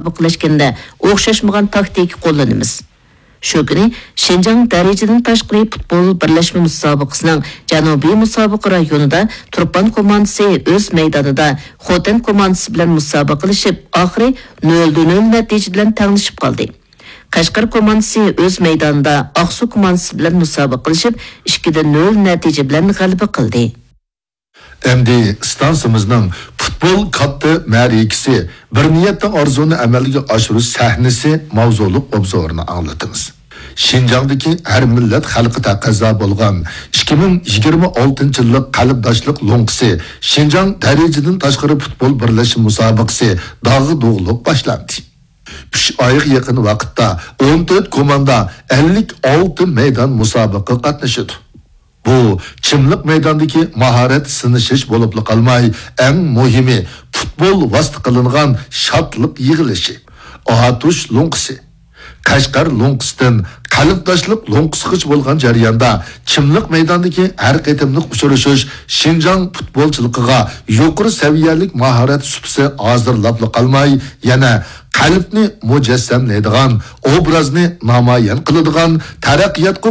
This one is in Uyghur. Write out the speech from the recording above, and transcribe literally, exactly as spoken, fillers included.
مۇسابىقىلەشكەندە ئوخشاشمىغان تاكتىكا قوللىنىمىز. شۇ كۈنى شىنجاڭ دەرىجىدىن تاشقىرى پۇتبول بىرلەشمە مۇسابىقىسىنىڭ جەنۇبىي مۇسابىقە رايونىدا تۇرپان كوماندىسى ئۆز مەيدانىدا خوتەن كوماندىسى بىلەن مۇسابىقىلىشىپ، ئاخىرى نۆل نۆل نەتىجە بىلەن تەڭلىشىپ قالدى. قەشقەر كوماندىسى ئۆز مەيدانىدا ئاقسۇ كوماندىسى بىلەن مۇسابىقىلىشىپ، ئىككىدە نۆل نەتىجە بىلەن غەلىبە قىلدى. ئەمدى ئىستانسىمىزنىڭ پۇتبول كاتتا مەرىكىسى، بىر نىيەتتە ئارزۇنى ئەمەلگە ئاشۇرۇش سەھنىسى ماۋزۇلۇق ئوبزورىنى ئاڭلىتىمىز. شىنجاڭدىكى ھەر مىللەت خەلقى تەقەززا بولغان ئىككى مىڭ يىگىرمە ئالتىنچى يىللىق قەلبداشلىق لوڭقىسى شىنجاڭ دەرىجىدىن تاشقىرى پۇتبول بىرلەشمە مۇسابىقىسى داغدۇغىلىق باشلاندى. ئۈچ ئايغا يېقىن ۋاقىتتا ئون تۆت كوماندا ئەللىك ئالتە مەيدان مۇسابىقىگە قاتنىشىدۇ. بۇ چىملىق مەيداندىكى ماھارەت سىنىشىش بولۇپلا قالماي، ئەڭ مۇھىمى پۇتبول ۋاسىتە قىلىنغان شادلىق يىغىلىشى. ئاتۇش لوڭقىسى، قەشقەر لوڭقىسىدىن قەلبداشلىق لوڭقىسىغىچە بولغان جەرياندا چىملىق مەيداندىكى ھەر قېتىملىق ئۇچرىشىش شىنجاڭ پۇتبولچىلىقىغا يۇقىرى سەۋىيەلىك ماھارەت سۇپىسى ھازىرلاپلا قالماي، يەنە قەلبنى مۇجەسسەملەيدىغان، ئوبرازنى نامايان قىلىدىغان، تەرەققىياتقا